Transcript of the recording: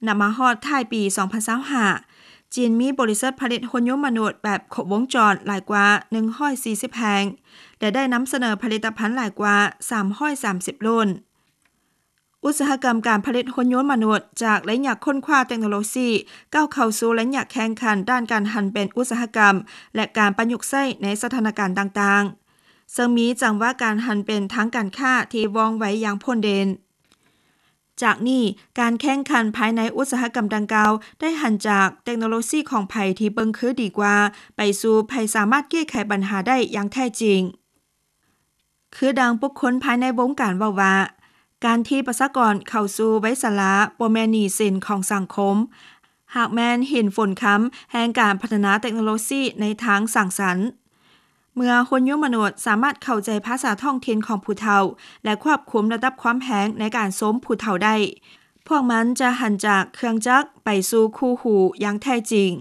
ນຳມາຮອດທ້າຍປີສອງພັນຊາວຫ້າ ຈີນມີບໍລິສັດຜະລິດຫຸ່ນຍົນມະນຸດແບບຄົບວົງຈອນຫຼາຍກວ່າໜຶ່ງຮ້ອຍສີ່ສິບແຫ່ງ ແລະ ໄດ້ນຳສະເໜີຜະລິດຕະພັນຫຼາຍກວ່າສາມຮ້ອຍສາມສິບລຸ້ນ. ອຸດສາຫະກຳການຜະລິດຫຸ່ນຍົນມະນຸດ ຈາກໄລຍະຄົ້ນຄວ້າເຕັກໂນໂລຊີ ກ້າວເຂົ້າສູ່ໄລຍະແຂ່ງຂັນດ້ານການຫັນເປັນອຸດສາຫະກຳ ແລະ ການປະຍຸກໃຊ້ໃນສະຖານະການຕ່າງໆ ເຊິ່ງມີຈັງຫວະການຫັນເປັນທາງການຄ້າທີ່ວ່ອງໄວຢ່າງໂພດເດັ່ນ. ຈາກນີ້, ການແຂ່ງຂັນພາຍໃນອຸດສາຫະກຳດັ່ງກ່າວ ໄດ້ຫັນຈາກເຕັກໂນໂລຊີຂອງໃຜທີ່ເບິ່ງຄືດີກວ່າ ໄປສູ່ໃຜສາມາດແກ້ໄຂບັນຫາໄດ້ຢ່າງແທ້ຈິງ. ຄືດັ່ງບຸກຄົນພາຍໃນວົງການເວົ້າວ່າ, ການທີ່ປະຊາກອນເຂົ້າສູ່ໄວຊະລາບໍ່ແມ່ນໜີ້ສິນຂອງສັງຄົມ, ຫາກແມ່ນຫີນຝຸນຄຳແຫ່ງການພັດທະນາເຕັກໂນໂລຊີໃນທາງສ້າງສັນ. ເມື່ອຫຸ່ນຍົນມະນຸດສາມາດເຂົ້າໃຈພາສາທ້ອງຖິ່ນຂອງຜູ້ເຖົ້າ ແລະ ຄວບຄຸມລະດັບຄວາມແຮງໃນການຊົມຜູ້ເຖົ້າໄດ້, ພວກມັນຈະຫັນຈາກເຄື່ອງຈັກໄປສູ່ຄູ່ຫູຢ່າງແທ້ຈິງ.